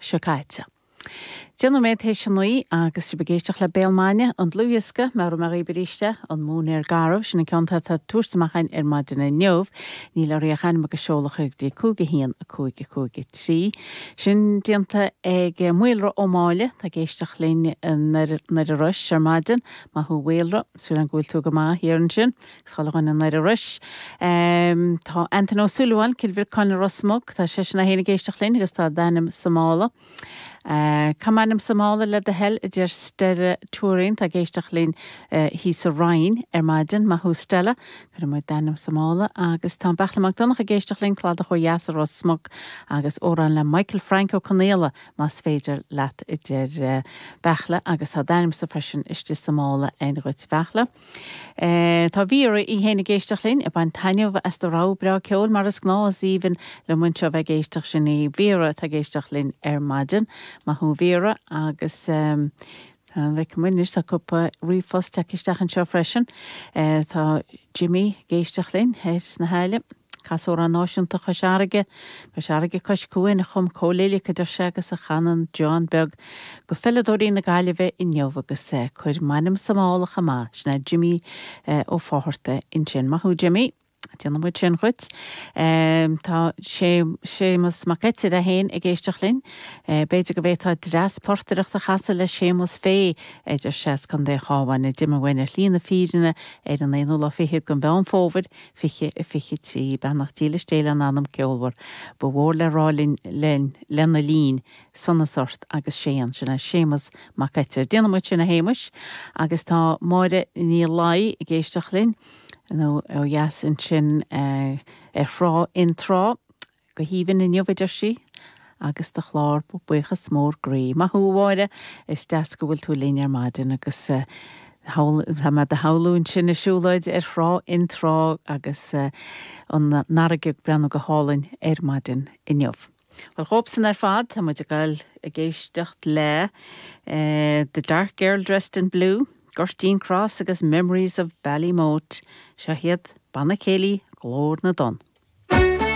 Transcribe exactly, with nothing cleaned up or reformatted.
seo caite. Deich nóiméad théis a naoi agus sibh ag éisteacht le Béal Maidine, an dlúthdhiosca, meabhróidh mé dhaoibh arís é, An Móinéar Garbh, sin an ceann atá ag tabhairt amach againn ar maidin inniu. Níl oraibh ach ainm agus seoladh a chur go dtí cúig a haon a cúig a cúig a trí. Sin déanta ag Maolra Ó Máille, tá ag éisteacht linn i nDoire Rois ar maidin. Maith thú a Mhaolra, súil agam go bhfuil tú go maith thiar ansin, agus chuile dhuine i nDoire Rois. Tá Antain Ó Súilleabháin, Cill Bhriocáin i Ros Muc, tá seisean é féin ag éisteacht linn agus tá d'ainm sa mála. Caith m'ainm sa mála le do thoil, a deir Stella Tuairín, tá ag éisteacht linn thíos sa Rinn ar maidin. Maith thú Stella, cuirfidh muid d'ainm sa mála agus tá Beairtle Mac Donncha ag éisteacht linn, Cladach ó dheas i Ros Muc agus amhrán le Michael Frank Ó Conaola más féidir leat, a deir Beairtle agus tá d'ainmse freisin istigh sa mála againn dhuit a Bheairtle. Tá Vera í féin ag éisteacht linn, ag baint taitneamh as do rogha breá ceoil mar is gnáth, is aoibhinn liom anseo bheith ag éisteacht sin í Vera atá ag éisteacht linn ar maidin. Maith thú Vera agus bheidh muid anois tá cúpla ríomhphost tagtha isteach anseo freisin. Tá Jimmy ag éisteacht linn ar sna hAille. Cas amhrán náisiúnta Chois Fharraige, Cois Fharraige Cois Cuain a chum Cóil Uillic a deir sé agus a chanann John Beag go pheileadóirí na Gaillimhe inniu agus cuir m'ainm sa mála chomh maith, sin é Jimmy Ó Fátharta ansin. Maith thú Jimmy. Déanfaidh muid sin dhuit. Tá Séamus Mac Eitiir é féin ag éisteacht linn. B'fhéidir go bhféadfá dreas portaireachta a chasadh le Séamus Fay a deir sé as Contae an Chabháin a d'imigh uainn ar shlí na fírinne ar an aonú lá fichead den Mheán Fómhair fiche a fiche trí. Beannacht dílis Dé lena anam ceolmhar. Ba mhór le rá linn linn lena linn sonas ort agus Séan, sin é Séamus Mac Eitiir. Déanfaidh muid sin a Shéamuis agus tá Máire Ní Laoi ag éisteacht linn. nó ó dheas ansin ar thrá Fhionntrá go haoibhinn inniu a deir sí agus do chlár buíochas mór groí. Maith thú a Mháire, is deas go bhfuil tú linn ar maidin agus tá mé do shamhlú ansin i siúlóid ar thrá Fhionntrá agus an fharraige ag breathnú go hálainn ar maidin inniu. Well dhóibhsan ar fad tá muid ag dul ag éisteacht le The Dark Girl Dressed in Blue, Gurteen Cross agus Memories of Ballymote, seo iad Banna Céilí Glór na dTonn.